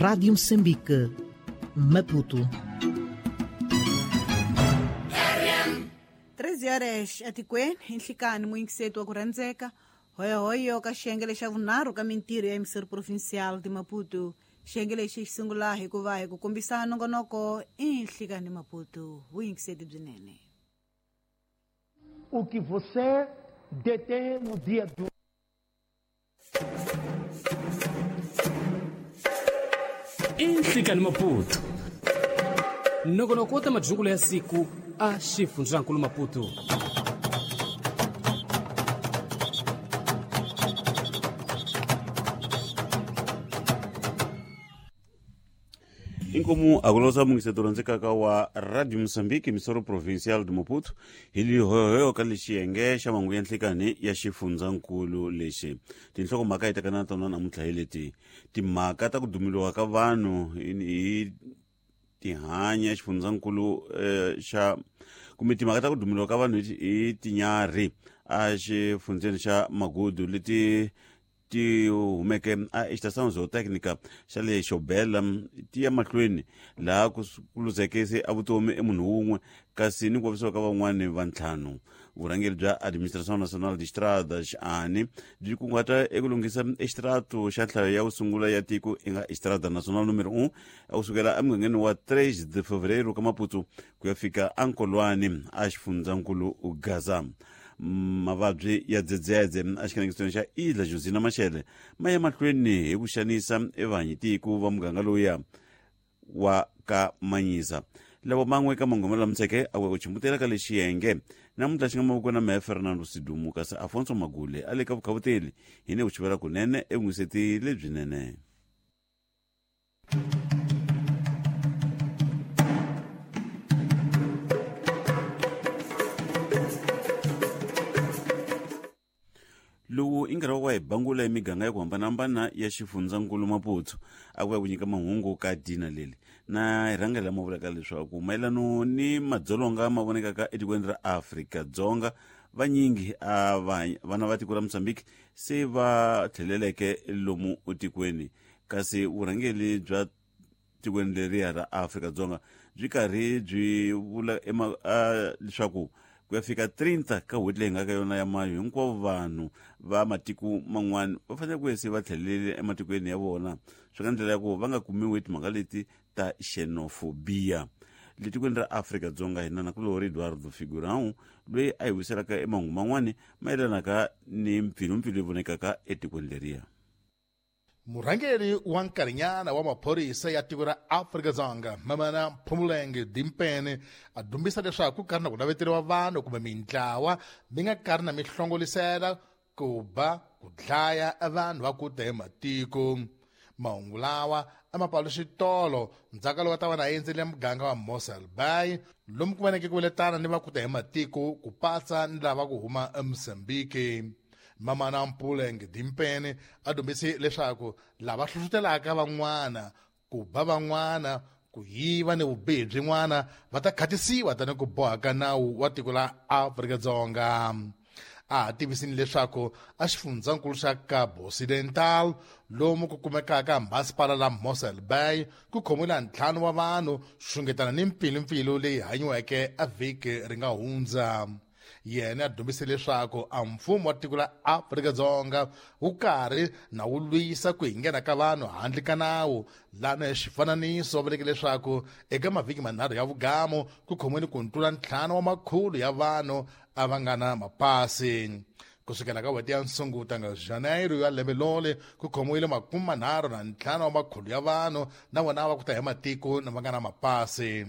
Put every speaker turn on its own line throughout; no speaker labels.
Rádio Moçambique, Maputo.
13 horas etikweni nhlikani muyingiseti wa ku rhandzeka hoyohoyo ka xiyenge xa vunharhu ka mintirho ya emisiri provincial de Maputo. Xiyenge lexi xi sungula hikuva hi ku kombisa nongonoko i nhlikani Maputo. Vuyingiseti byinene.
O que você detém no dia de
Inhlikani Maputo nongonoko wa ta madyungulo ya siku a xifundzankulu Maputo.
Inkomu akulosa mungiseto rhandzekaka wa Radio Moçambique, misoro provincial de Maputo, hi lihoyohoyo ka lexiyenge xa mangu ya nhlikani ya xifundzankulu lexi. Tinhlokomhaka hi tekana na tona namuntlha hi leti: timhaka ta ku dumiliwa ka vanhu hi tihanya xifundzankulu xa kumbe timhaka ta ku dumiliwa ka vanhu hi tinyarhi a xifundzeni xa Magudu leti ti humeke a Estação Zootécnica xa le Xobela ti ya mahlweni laha ku luzeke se a vutomi emunhu wun'we kasi ni ku vavisiwa ka van'wani va ntlhanu. Vurhangeri bya Administração Nacional de Estradas ANE byi kunguhata eku lunghisa extrato xa nhlayo ya ku sungula ya tiko i nga Estrada Nacional número 1 a kusukela emugangeni wa 3 de Fevereiro ka Maputo ku ya fika ankolwani a xifundzankulu Gaza. Mavabyi ya dzedzedze a xikanekisweni xa Ilha Josina Machel ma ya mahlweni hi ku xanisa evahanyitiko va muganga lowuya wa ka Manyisa. Lavo man'we ka mangoma lamuseke a ku chimbutela ka lexiyenge namuntlha xi nga mavoko na mehe Fernando Sidumu, kasi Afonso Magule a le ka vukhavuteli hi ne ku chivela kunene evungiseti lebyinene. Lowu i nkarhi wa ku va hi bangula emiganga ya ku hambanahambana ya xifundzankulu Maputo a ku ya ku nyika mahungu ka dina leli na hi rhangela lama vulaka leswaku mayelano ni madzolonga ma vonekaka etikweni ra Afrika-Dzonga, vanyingi a vana va tiko ra Mozambique se va tlheleleke lomu tikweni, kasi vurhangeri bya tikweni leriya ra Afrika-Dzonga byi karhi byi vula leswaku ku ya fika 30 ka n'hweti leyi nga ka yona ya mayo hinkwavo vanhu va matiko man'wana va fanele ku se va tlhelele ematikweni ya vona, swi nga ndlela ya ku va nga kumiwi timhaka leti ta xenophobia. Le tikweni ra Afrika-Dzonga hina nakulorhi Eduardo Figurão loyi a hi wiselaka emahungu man'wani mayelanaka ni mpfilumpfilu leyi vonekaka etikweni leriya.
Murhangeri wa nkarhinyana wa maphorisa ya tiko ra Afrika-Dzonga Mamana Phumulenge Dimpene a dumbisa leswaku ku karhi na ku naveteriwa vanhu kumbe mintlawa mi nga karhi na mi hlongolisela ku ba ku dlaya vanhu va ku ta hi matiko. Mahungu lawa a ma paluxi tolo ndzhaku loko ta va na endzele muganga wa Mossel Bay lomu ku vaneke ku veletana ni va ku ta hi matiko ku patsa ni lava ku huma eMozambique. Mamana Mpuleng Dimpene a dumbise leswaku lava hlohlotelaka van'wana ku ba van'wana ku yiva ni vubihi byin'wana va ta khatisiwa tani ku boha ka nawu wa tiko la Afrika-Dzonga. A ha tivisini leswaku a xifundzankulu xa Cabo Occidental lomu ku kumekaka masipala la Mossel Bay ku khomiwile ntlhanu wa vanhu xungetana ni mpfilumpfilu leyi hanyiweke a vhiki ri nga hundza. Yena a dumbise leswaku a mfumo wa tiko la Afrika-Dzonga wu karhi na wu lwisa ku hinghena ka vanhu handle ka nawu. Lana hi xifananiso va vuleke leswaku eka mavhiki manharhu ya vugamu ku khomiwile ku tlula 5 wa makhulu ya vanhu a va nga na mapasi. Kusukela ka n'hweti ya Nsunguta nga Janeiro ya lembe lole ku khomiwile 35 wa makhulu ya vanhu na vona va ku ta hi matiko na va nga na mapasi.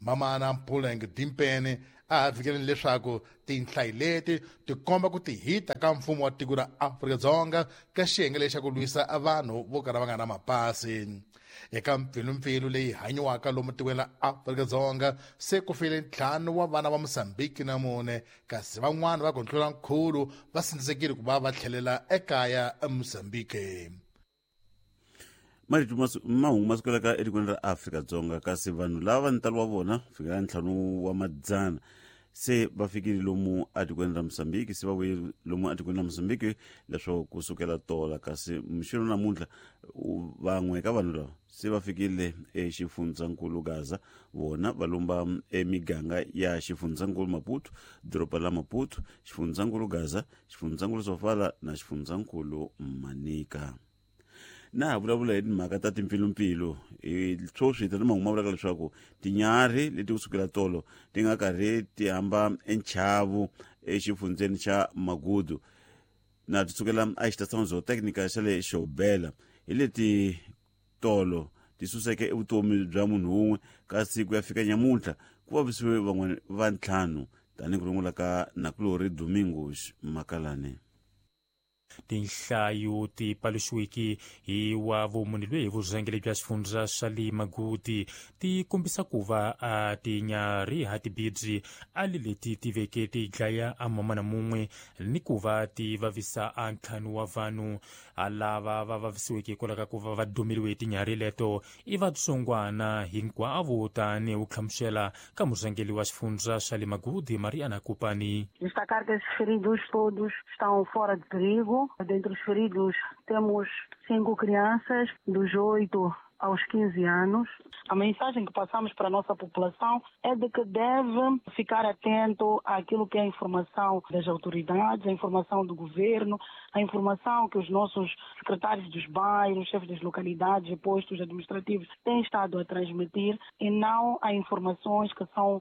Mamana Mpuleng Dimpene a ha fikeleni leswaku tinhlayi leti ti komba ku tihita ka mfumo wa tiko ra Afrika-Dzonga ka xiyenge lexi xa ku lwisa vanhu vo kala va nga na mapasi. Eka mpfilumpfilu leyi hanyiwaka lomu tikweni ra Afrika-Dzonga se ku file 5 wa vana va Mozambique na 4, kasi van'wana va ku tlula nkhulu va sindzisekile ku va va tlhelela ekaya eMozambique.
Marito mahungu ma sukelaka etikweni ra Afrika-Dzonga, kasi vanhu lava ntalo wa vona fikela 5 wa madzana se va fikile lomu atikweni ra Mozambique, se va vuye lomu atikweni ra Mozambique leswaku kusukela tola, kasi mixino namuntlha. Van'we ka vanhu lava se va fikile exifundzankulu Gaza, vona va lumba emiganga ya xifundzankulu Maputo, doroba la Maputo, xifundzankulu Gaza, xifundzankulu Sofala na xifundzankulu Manica. Na ha vulavula hi timhaka ta timpfilumpfilu, hi sweswi hi ta ni mahungu ma vulaka leswaku tinyarhi leti kusukela tolo ti nga karhi ti hamba enchavu exifundzeni xa Magudu na ti sukela a xitatsano zootechnica xa le Xobela, hi leti tolo ti suseke evutomi bya munhu wun'we, kasi ku ya fika nyamuntlha ku vavisiwe van'wana va ntlhanu, tanihi ku rungula ka nakulori Domingos Makalane.
Tinhlayo ti paluxiwiki hi wa vumune lweyi hi vurhangeri bya xifundza xa le Magudi ti kombisa ku va a tinyarhi ha tibidzi a le leti ti veke ti dlaya a mamana mun'we ni ku va ti vavisa a ntlhanu wa vanhu. A lava va vavisiweke hikwalaho ka ku va va dumeriwe hi tinyarhi leto i vatsongwana hinkwavo, tanihi ku hlamusela ka murhangeri wa xifundza xa le Magudi, Mariana Kupani.
Destacar que esses feridos todos estão fora de perigo. Dentre os feridos temos 5 crianças, dos 8 aos 15 anos. A mensagem que passamos para a nossa população é de que deve ficar atento àquilo que é a informação das autoridades, a informação do governo, a informação que os nossos secretários dos bairros, chefes das localidades e postos administrativos têm estado a transmitir, e não a informações que são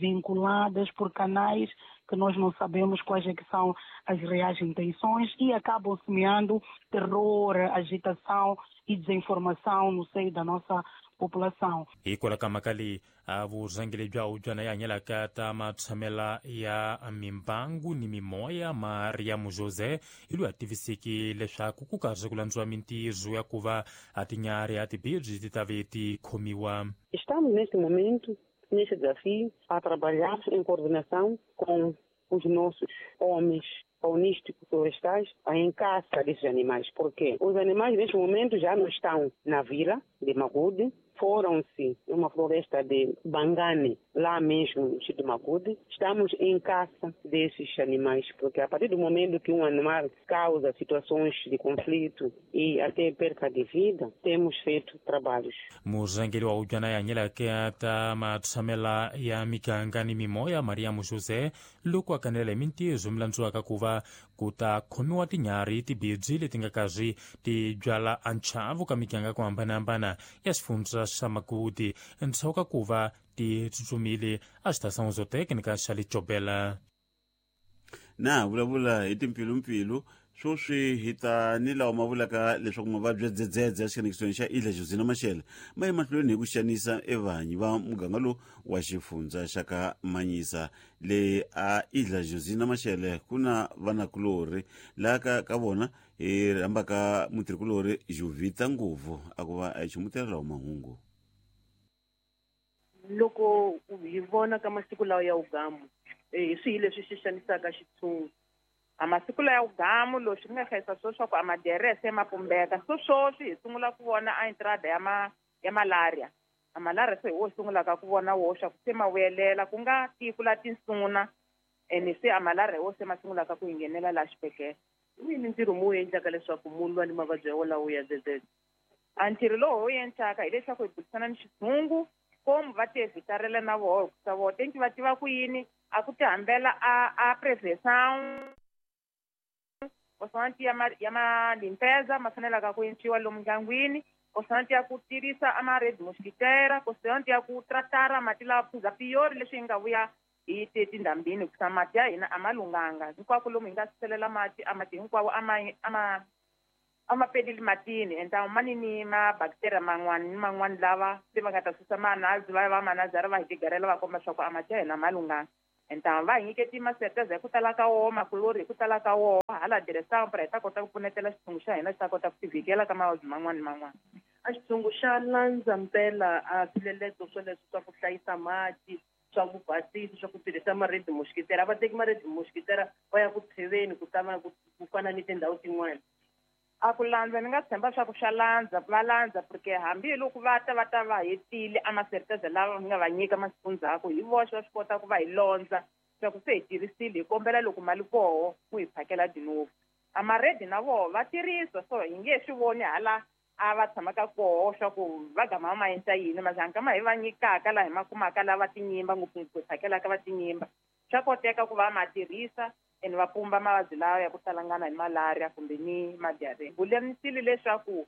vinculadas por canais que nós não sabemos quais é que são as reais intenções e acabam semeando terror, agitação e desinformação no seio da nossa população.
Hikwalaho ka mhaka leyi, a vurhangeri bya hubyana ya hanyelaka ta matshamela ya mimbangu ni mimoya, Mariam José, hi loyi a tiviseki leswaku ku karhi ku landziwa mintirho ya ku va a tinyarhi a tibidzi ti ta ve ti khomiwa.
Estamos neste momento neste desafio a trabalhar em coordenação com os nossos homens faunísticos florestais em caça desses animais, porque os animais neste momento já não estão na vila de Magude, foram-se numa floresta de Bangane, lá mesmo no distrito de Magude. Estamos em caça desses animais, porque a partir do momento que um animal causa situações de conflito e até perca de vida, temos feito trabalhos.
Murhangeri wa hubyana ya hanyelaka ta matshamela ya miganga ni mimoya, Mariam José, loko a kanela hi mintirho mi landziwaka ku va ku ta khomiwa tinyarhi tibidzi leti nga karhi ti byala a nchavu ka miganga ku hambanahambana ya xifundza xa Magudi, endzhaku ka ku va ti tsutsumile a xitasan'we zotécnica xa le Jobela.
Na vulavula hi timpfilumpfilu, sweswi hi ta ni lawa ma vulaka leswaku mavabyi ya dzedzedze ya xikanekisweni xa Ilha Josina Machel ma ye mahlweni hi ku xanisa evanyi va muganga lowu wa xifundza xa ka Manyisa. Le a Ilha Josina Machel ku na vanakulorhi laha ka vona hi rhambaka mutirhikulorhi Juvita Nguvu a ku va a chumutela lawa mahungu.
Loko hi vona ka masiku lawa ya ugamu, hi swihi leswi xi xanisaka xitshungu?
A masiku lawa ya ugamu leswi nga hlayisa swo swa ku a maderese ma pumbeka, so sweswi hi sungula ku vona a entrada ya malaria. A malaria se hi wo sungulaka ku vona wo swa ku se ma vuyelela, ku nga tiko la tinsuna, ene se a malaria hi wo se ma sungulaka ku hi nghenela laha xibedhlele.
I yini ntirho mu wu endlaka leswaku mu lwa ni mavabyi ya wolawo ya dzedzedze?
A ntirho lowu hi wu endlaka hileswaku hi burisana ni xitshungu, komu va ti evhitarela na voho, hikusa voho tenki va tiva ku yini a ku ti hambela a prevenção kosanti ya ma limpeza ma fanelaka ku endliwa lomu ndyangwini, kosanti ya ku tirhisa a ma red mosquitera, kosanti ya ku tratara mati lawa phuza piyori leswi hi nga vuya hi te tindhambini, hikusa mati ya hina a ma lunghanga hinkwako lomu hi nga suselela mati, a mati hinkwawo a ma peleli matini, ende ma ni ni ma bacteria man'wani ni man'wani lava se va nga ta susa manazi va va manazara va hi tigarela va komba swa ku a mati ya hina ma lunghanga. Ende va hi nyiketi maserteza hi ku tala ka woho, makulori hi ku tala ka woho, hala diresampa hi ta kota ku pfunetela xitshungu xa hina xi ta kota ku tivhikela ka mavabyi man'wani ni man'wani.
A xitshungu xa landza mpela a swileleto swoleswo swa ku hlayisa mati, swa ku basisa, swa ku tirhisa ma-red mosquitera. A va teki ma-red mosquitera va ya ku tsheveni ku tama ku fana ni tindhawu tin'wana.
A ku landza ni nga tshemba swa ku swa landza, va landza porque hambiloko va ta va ta va hetile a maserteza lava nga va nyika masiku ndzhaku, hi voxe va swi kota ku va hi londza swa ku se hi tirhisile, hi kombela loko mali koho ku hi phakela dinovu. A maredi na voho va tirhisa, so hi nge swi voni hala a va tshamaka koho swa ku va gama ma endla yini mazanga ma hi va nyikaka laha hi ma kumaka lava tinyimba ngopfungopfu hi phakelaka va tinyimba swa koteka ku va ma tirhisa ene va pumba mavabyi lawa ya ku talangana hi malaria kumbe ni madiarrhea. Vulemisile leswaku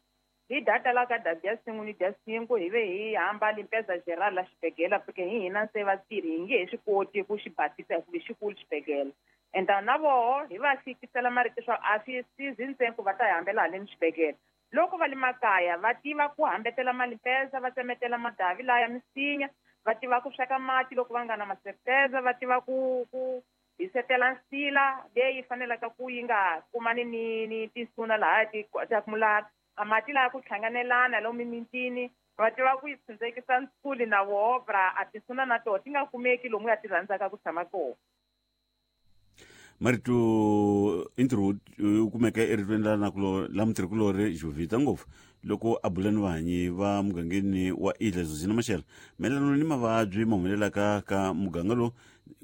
hi data la ka dya 5 ni dya 5 hi ve hi hamba limpeza geral la xibedhlele porque hi hina se vatirhi hi nge he swi koti ku xi basisa hikuva xikulu xibedhlele. Enta na voho hi va fikisela marito swa a swi sizi ntsena ku va ta hi hambela haleni xibedhlele. Loko va le makaya va tiva ku hambetela malimpeza, va tsemetela madavi laya misinya, va tiva ku sweka mati loko va nga na maserteza, va tiva ku hisetela nsila leyi fanelaka ku yi nga kumani ni tinsuna laha ti akumulara. A mati laya ku hlanganelana lomu mimintini va tiva ku yi tshundzekisa ntshuli na voho a tinsuna na toho ti nga kumeki lomu ya ti rhandzaka ku tshama kona.
Marito intro wu kumeka eritweni la la mutirhikulori Jovita ngopfu loko a bula ni vahanyi va mugangeni wa Ilha Zuzina Machel mayelana ni mavabyi ma humelelaka ka muganga lowu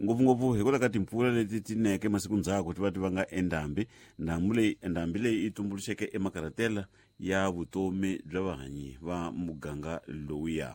ngopfungopfu hikwalaho ka timpfula leti ti neke masiku ndzhaku ti va ti vanga endhambi. Ndhambi leyi yi tumbuluxeke emakaratela ya vutomi bya vahanyi va muganga lowuya.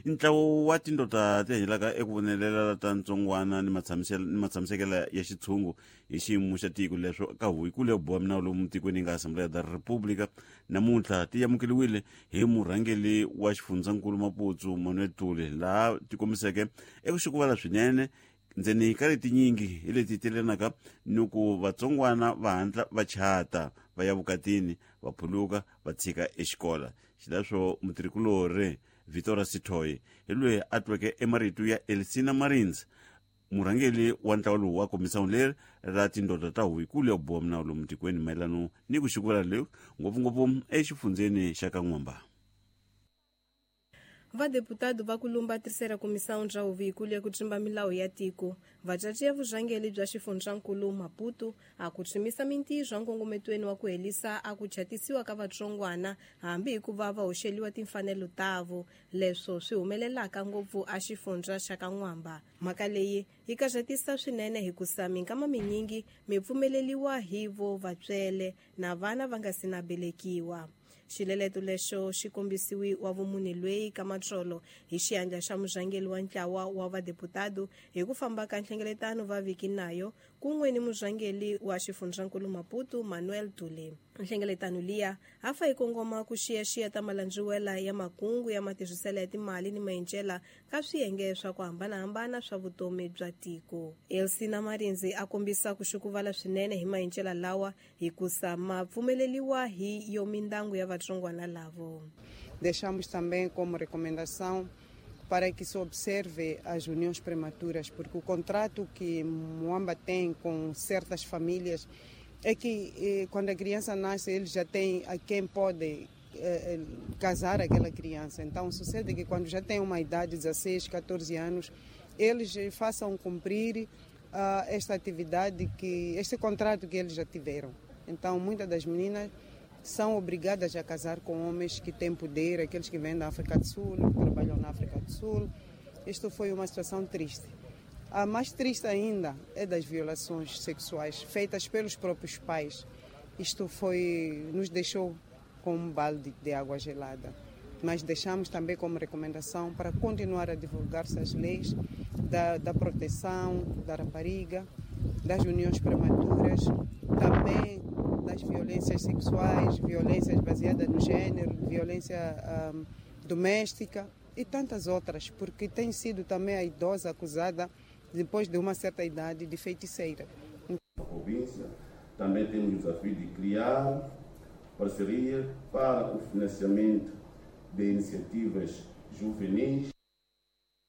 Ntlawa wa tindota ti hanyelaka eku vonelela ta ntsongwana ni matshamisekelo ya xitshungu hi xiyimo xa tiko leswo ka huvo ya boha minawu lomu tikweni yi nga Assembleia da República namuntlha ti amukeriwile hi murhangeri wa xifundzankulu Maputo Manuel Tuli laha ti kombiseke eku xikuvala swinene ndzeni ka letinyingi hi leti telenaka ni ku vatsongwana va hatla va chata va ya vukatini va phuluka va tshika exikola. Xileswo mutirhikulori Vitória Sitoy hi loyi a tweke emarito ya Elsina Marins murhangeri wa ntlawa lowu wa komisawu leri ra tindota ta huvo ya boha minawu lomu tikweni mayelana ni ku xikuvela leyi ngopfungopfu exifundzeni xa ka N'wamba.
Vadeputado va kulumba terceira comissão bya huvo ya ku tsimba milawu ya tiko vacaci ya vurhangeri bya xifundzankulu Maputo a ku tshimisa mintirho nkongometweni wa ku helisa a ku chatisiwa ka vatsongwana hambi hikuva va hoxeliwa timfanelo tavo leswo swi humelelaka ngopfu a xifundza xa ka N'wamba. Mhaka leyi yi karatisa swinene hikusa minkama minyingi mi pfumeleliwa hi vo vatswele na vana va nga si na belekiwa. Xileleto lexo xi kombisiwi wa vumune lweyi ka matsolo hi xiandla xa murhangeri wa ntlawa wa vadeputado hi ku famba ka nhlengeletano va viki nayo kun'we ni murhangeri wa xifundzankulu Maputo Manuel Tule. Nhlengeletano liya a fa yi kongoma ku xiyaxiya ta malandziwela ya makungu ya matirhiselo ya timali ni maendlela ka swiyenge swa ku hambanahambana swa vutomi bya tiko. Elsina Marinzi a kombisa ku xukuvala swinene hi maendlela lawa hikusa ma pfumeleliwa hi yo mindangu ya vatsongwana lavo.
Deixamos também como recomendação para que se observe as uniões prematuras, porque o contrato que Moamba tem com certas famílias é que quando a criança nasce, ele já tem a quem pode casar aquela criança. Então sucede que quando já tem uma idade, 16, 14 anos, eles façam cumprir esta atividade, este contrato que eles já tiveram. Então muitas das meninas são obrigadas a casar com homens que têm poder, aqueles que vêm da África do Sul, que trabalham na África do Sul. Isto foi uma situação triste. A mais triste ainda é das violações sexuais feitas pelos próprios pais. Isto nos deixou com um balde de água gelada. Mas deixamos também como recomendação para continuar a divulgar-se as leis da proteção da rapariga, das uniões prematuras, também das violências sexuais, violências baseadas no gênero, violência doméstica e tantas outras, porque tem sido também a idosa acusada, depois de uma certa idade, de feiticeira.
Na província também temos o desafio de criar parceria para o financiamento de iniciativas juvenis.